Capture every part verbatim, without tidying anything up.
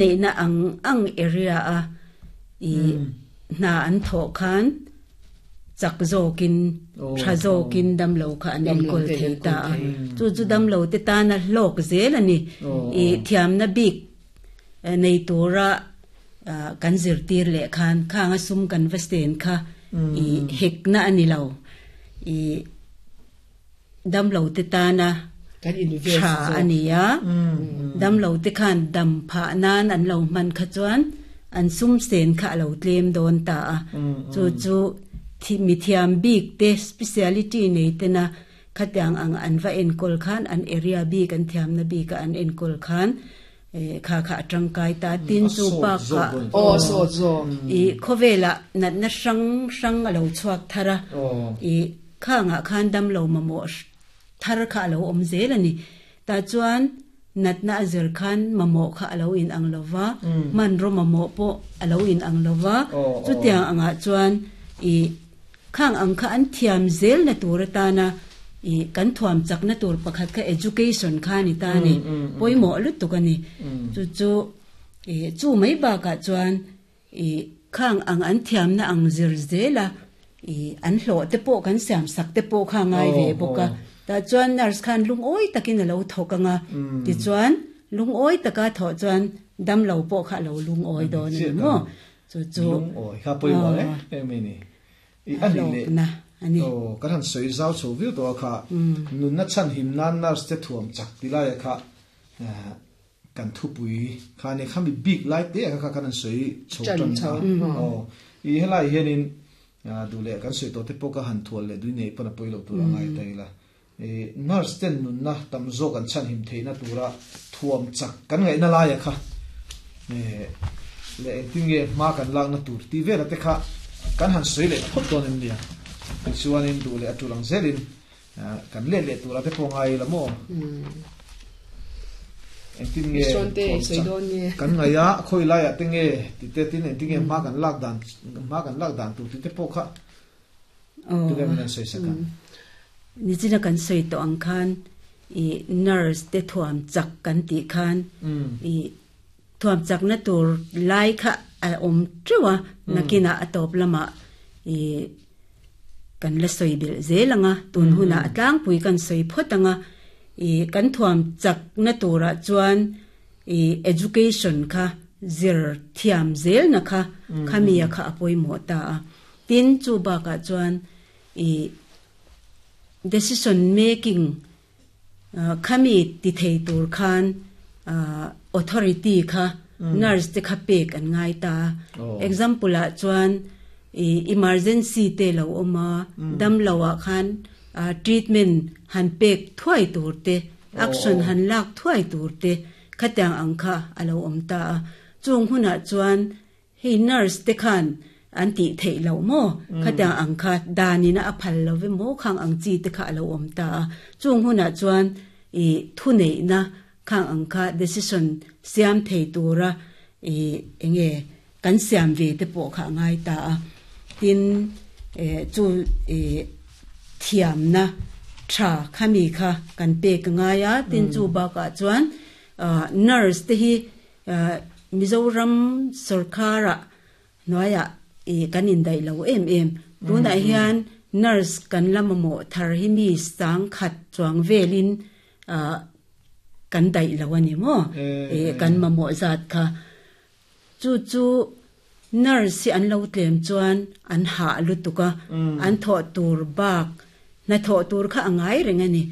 Neihna ang ang area a i hna an thawh khan chak zawkin tha zawkin damlo kha an enkawl thei ta a. Chu chu damlo te tana hlawk zel a ni. I thiamna bik nei tura kan zirtir leh khan khanga sum kan va sten kha i hekna a ni lo. I damlo te tana Kan invest tha zawk. A ni a. Damlo te khan dam phah nan an lo hman kha chuan an sum sen kha a lo tlem dawn ta a. Chu chu thi mi thiam bik te, speciality nei te na khatiang ang an va enkawl khan, an area bik, an thiamna bik a an enkawl khan kha kha a tangkai ta. Tin, chu bak kha Aw, sawt zawk. I khawvela natna hrang hrang a lo chhuak thar a. I khangah khan damlo mamawh thar kha a lo awm zel a ni. Ta chuan natna a zir khan mamawh kha a lo in ang lova, hmanraw mamawh pawh a lo in ang lova. Chutiang angah chuan i khang ang kha an thiam zel na tur atana i kan thuam chakna tur pakhat kha education kha ni ta ni, pawimawh lutuk a ni. Chu chu i chu mai bakah chuan i khang ang an thiamna ang zir zela i an hlawh te pawh kan siam sak te pawh kha ngai ve bawk a. Ta chuan nurse khan lungawi takin a lo thawk anga, tichuan lungawi taka thawh chuan damlo pawh kha a lo lungawi dawn a ni maw. Chu chu lungawi kha pawimawh e em ni i ani le. Hlawkna ani. O kan han soi zau chho viau to kha, nunna chan him nan nurse te thuam chak tilai kha kan thupui kha ne khami big lai te kha kha kan an soi chho Chan tan chho. A o i helai hianin dule kan soi to te pawh ka han thual le dui nei pana poilo tur angai tai la. E nurse ten nunna tam zawk an chan him theina tura thuam chak kan ngai na lai kha e le engtin nge hma kan lak na tur ti vela te kha kan han soi le phot don em nia. Chuanin du le atulang zelin kan le le tura te pawh ngai la mo, engtin nge Sawn te thuam soi chak dawn nge. Kan ngaia khoi lai a te nge ti te tin, engtin nge hma kan lak dan hma kan lak dan tur ti te pawh kha tu le min soi saka. Nichina kan soi to ang khan i nurse te thuam chak kan ti khan i thuam chak na tur lai kha a om trewa, nakina atop lama i kan la soi bil zelanga. Tun huna atlang pui kan soi photanga i kan thuam chak na tura chuan i education kha zir thiam zel na kha khamia kha apoi mo ta a. Tin, chu ba ka chuan i decision making uh, khami ti thei tur khan uh, authority kha nurse te kha pek an ngai ta. Oh. Example a chuan i emergency te lo oma, dam lowa khan uh, treatment han pek thuai tur te, action han lak thuai tur te khatiang ang kha alo om ta a. Chung huna chuan hei nurse te khan an ti thei lo mo, khatiang ang kha danina a phal lo ve mo, khang ang chi te kha alo om ta a. Chung huna chuan i thu nei na khang ang kha decision siam thei tura i enge kan siam ve te pawh kha ngai ta a. Tin, e chu e thiam na tha khami kha kan pe ka ngai a. Tin, chu ba ka chuan nurse te hi Mizoram sarkara noya e kan in dai lo em em. Tuna hian nurse kan lama mo thar hi mi sang khat chuang velin kan dai lo ani mo e kan ma mo zat kha. Chu chu nurse hi an lo tlem chuan an ha lutuka, an tho tur bak na tho tur kha angai reng ani.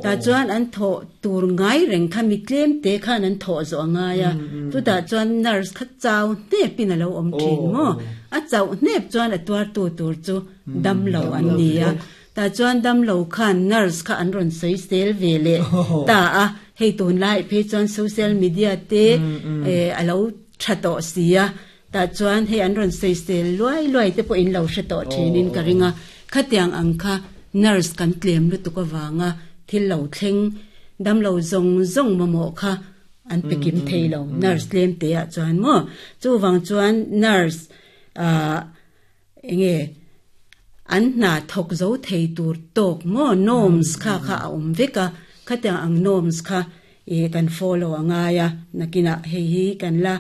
Ta chuan an tho tur ngai reng kha mi tlem te khan an tho zo anga ya. Tu ta chuan nurse kha chau ne pin alo om thin mo. A chau nep chuan a tuar tu tur chu dam lo an ni a. Ta chuan dam lo khan nurse kha an ron sei sel ve le ta a. Hei, tun lai phe chuan social media te e alo thato sia, ta chuan hei an ron sei sel luai luai te po in lo hre to thinin ka ringa. Khatiang ang kha nurse kan tlem lu tu ka wanga thil lo thleng, dam lo zong zong mo mo kha an pekim theilo nurse tlem te a chuan mo. Chu wang chuan nurse a enge an na thok zo thei tur tok mo norms kha kha a om veka. Khatiang ang norms kha e kan follow anga ya, nakina hei hi kan la.